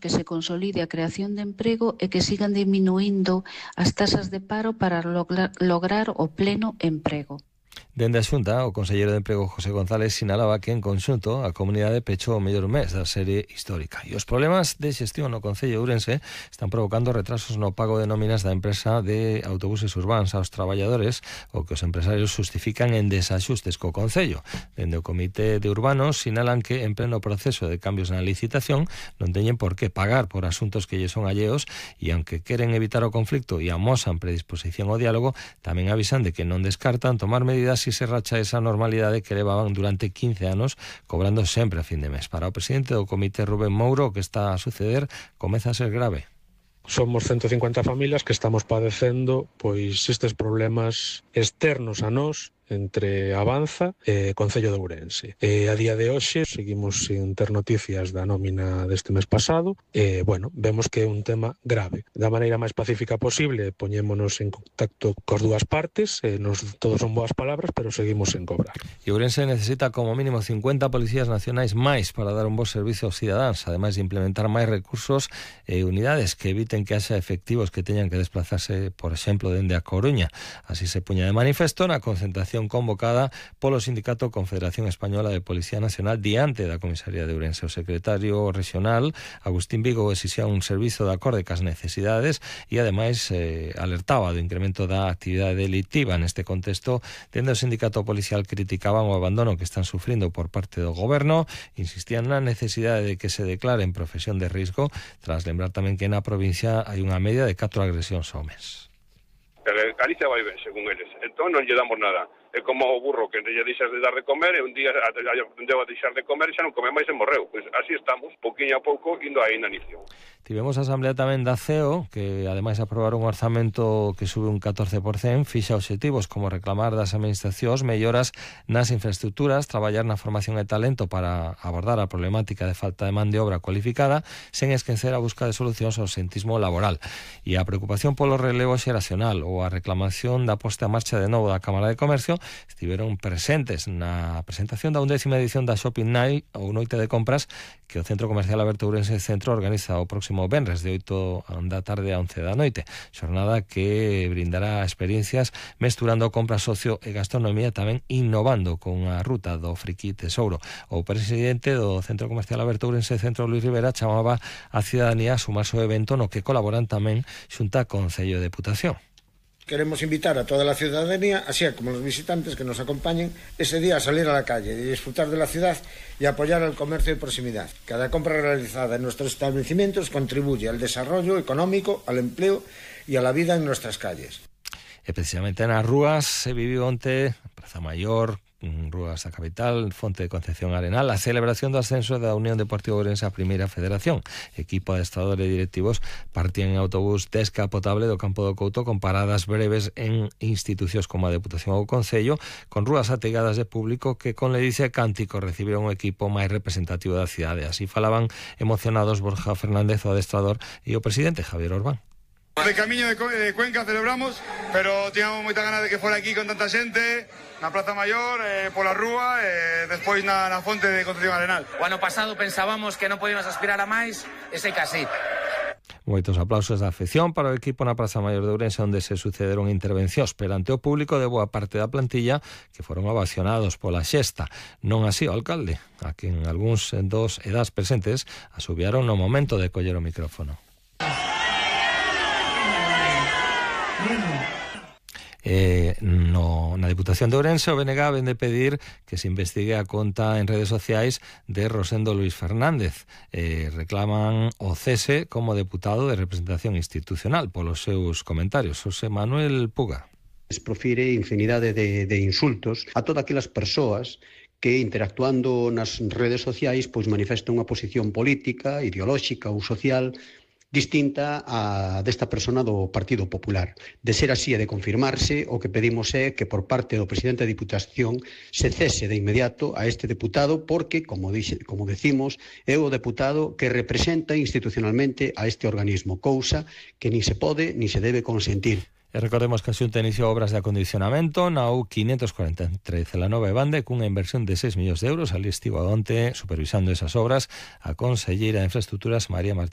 que se consolide a creación de emprego e que sigan diminuindo as tasas de paro para lograr o pleno emprego. Dende a Xunta, o conselleiro de Emprego José González sinalaba que en conxunto a comunidade pechou o mellor mes da serie histórica e os problemas de xestión no Concello de Ourense están provocando retrasos no pago de nóminas da empresa de autobuses urbanos aos traballadores, o que os empresarios justifican en desaxustes co Concello. Dende o Comité de Urbanos sinalan que en pleno proceso de cambios na licitación non teñen por que pagar por asuntos que lle son alleos e aunque queren evitar o conflicto e amosan predisposición ao diálogo, tamén avisan de que non descartan tomar medidas si se racha esa normalidade que levaban durante 15 anos cobrando sempre a fin de mes. Para o presidente do comité Rubén Mouro, o que está a suceder comeza a ser grave. Somos 150 familias que estamos padecendo pois estes problemas externos a nós entre Avanza e Concello de Ourense. A día de hoxe seguimos sin ter noticias da nómina deste mes pasado e, vemos que é un tema grave. Da maneira máis pacífica posible poñémonos en contacto cos dúas partes, todos son boas palabras, pero seguimos sen cobrar. E Ourense necesita como mínimo 50 policías nacionais máis para dar un bo servicio aos cidadáns, ademais de implementar máis recursos e unidades que eviten que haxa efectivos que teñan que desplazarse, por exemplo, dende a Coruña. Así se puña de manifesto na concentración convocada polo Sindicato Confederación Española de Policía Nacional diante da Comisaría de Ourense. O secretario regional, Agustín Vigo, exixía un servizo de acorde cas necesidades e, ademais, alertaba do incremento da actividade delictiva. Neste contexto, dende o sindicato policial criticaban o abandono que están sufrindo por parte do goberno, insistían na necesidade de que se declare en profesión de risco, tras lembrar tamén que na provincia hai unha media de 4 agresións ao mes. Galicia vai ben, según eles. Entón non lle damos nada. É como o burro que lle deixas de dar de comer e un día aprendeu a deixar de comer e xa non come máis e morreu. Pois así estamos, pouquinho a pouco, indo á inanición. Tivemos a asamblea tamén da CEO, que ademais aprobaron un orzamento que sube un 14%, fixa obxectivos como reclamar das administracións melloras nas infraestructuras, traballar na formación e talento para abordar a problemática de falta de man de obra cualificada, sen esquecer a busca de solucións ao absentismo laboral. E a preocupación polo relevo xeracional ou a reclamación da posta a marcha de novo da Cámara de Comercio estiveron presentes na presentación da 11ª edición da Shopping Night ou Noite de Compras que o Centro Comercial Aberto Ourense Centro organiza o próximo venres de 8 da tarde a 11 da noite. Xornada que brindará experiencias mesturando compra, socio e gastronomía, tamén innovando con a ruta do Friqui Tesouro. O presidente do Centro Comercial Aberto Ourense Centro, Luis Rivera, chamaba a cidadanía a sumarse ao evento no que colaboran tamén Xunta Concello e Deputación. Queremos invitar a toda la ciudadanía, así como los visitantes que nos acompañen, ese día a salir a la calle y disfrutar de la ciudad y apoyar al comercio de proximidade. Cada compra realizada en nuestros establecimientos contribuye al desarrollo económico, al empleo y a la vida en nuestras calles. E precisamente nas rúas se viviu onte, Praza Maior, Rúas da Capital, Fonte de Concepción Arenal, a celebración do ascenso da Unión Deportiva Ourense á Primeira Federación. Equipo de adestradores e directivos partían en autobús descapotable do Campo do Couto con paradas breves en institucións como a Deputación ou o Concello, con rúas ategadas de público que con ledicia e cántico recibiron o equipo máis representativo da cidade. Así falaban emocionados Borja Fernández, o adestrador, e o presidente Javier Orbán. De camiño de Cuenca celebramos, pero tiñamos moita ganas de que fora aquí con tanta xente, na Praza Maior, pola rúa e despois na Fonte de Concepción Arenal. O ano pasado pensábamos que non podíamos aspirar a máis, e sei que así. Moitos aplausos da afección para o equipo na Praza Maior de Ourense, onde se sucederon intervencións perante o público de boa parte da plantilla que foron ovacionados pola xesta. Non así o alcalde, a quen algúns dos e das presentes asubiaron no momento de coller o micrófono. Na Deputación de Ourense, o BNG vende pedir que se investigue a conta en redes sociais de Rosendo Luis Fernández. Reclaman o cese como deputado de representación institucional polos seus comentarios. José Manuel Puga. Profire infinidade de insultos a todas aquelas persoas que interactuando nas redes sociais pois manifestan unha posición política, ideolóxica ou social distinta a desta persona do Partido Popular. De ser así e de confirmarse, o que pedimos é que por parte do presidente da Diputación se cese de inmediato a este deputado porque, como decimos, é o deputado que representa institucionalmente a este organismo, cousa que nin se pode nin se debe consentir. E recordemos que a Xunta iniciou obras de acondicionamento na U543 la Nova Bande cunha inversión de 6 millóns de euros. Ali estivo onte supervisando esas obras a conselleira de Infraestructuras María Martínez